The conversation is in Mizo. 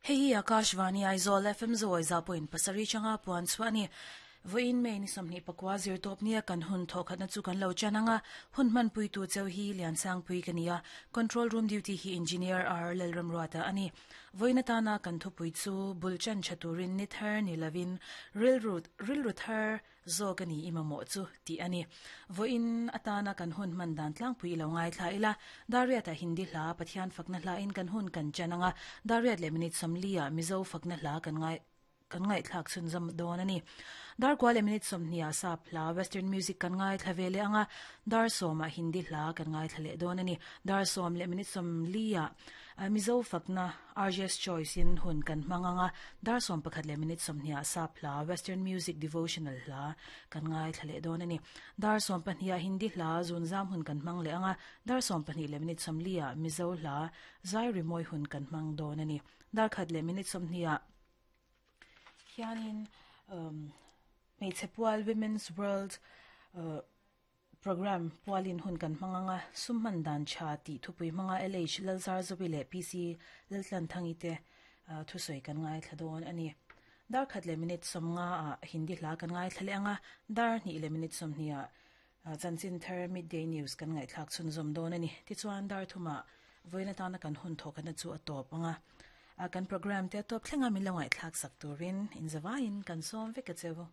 Hei hi Akashvani Aizawl FM zawi za point pasarih changa puan chhuah a ni. Vawiin May ni 24 zirtawp nia kan hun thawhkhatna chu kan lo chan ang a, hun hmanpuitu cheu hi Liansangpui ka ni a, Control Room Duty hi Engineer R Lalramruata a ni. Vawiin atana kan thupui chu bul chan tha turin ni thar ni lovin rilru rilru thar zawk a ni i mamawh chu tih a ni. Vawiin atana kan hun hman dan tlangpui i lo ngaithla ila, Dariat-ah Hindi hla Pathian fakna hlain kan hun kan chan ang a, Dariat leh minute 40-ah Mizo fakna hla kan ngai kan ngaihthlak chhunzawm dawn a ni. Dar kua leh minute 20-ah sap hla Western music kan ngaithla ve leh ang a, dar 10-ah Hindi hla kan ngaithla leh dawn a ni. Dar 10 leh minute 40-ah Mizo fakna RJ's Choice in hun kan hmang ang a, dar 11 leh minute 20-ah sap hla Western music devotional hla kan ngaithla leh dawn a ni. Dar 12-ah Hindi hla zunzam hun kan hmang leh ang a, dar 12 leh minute 40-ah Mizo hla zai rimawi hun kan hmang dawn a ni. Dar 1 leh minute 20-ah hianin hmeichhe pual Women's World Programme pualin hun kan hmang ang a, sum hman dan tha tih thupui hmanga LH Lalzarzovi leh PC Laltlanthangi te thusawi kan ngaithla dawn a ni. Dar 1 leh minute 50 ah Hindi hla kan ngaithla leh ang a, dar 2 leh minute 20 ah chanchin thar Midday News kan ngaihthlak chhunzawm dawn a ni. Tichuan dar 3 ah vawiin atana kan hun thawkhatna chu a tawp ang a, kan programme te a tawp thlenga min lo ngaihthlak sak turin inzavaiin kan sawm vek a che u.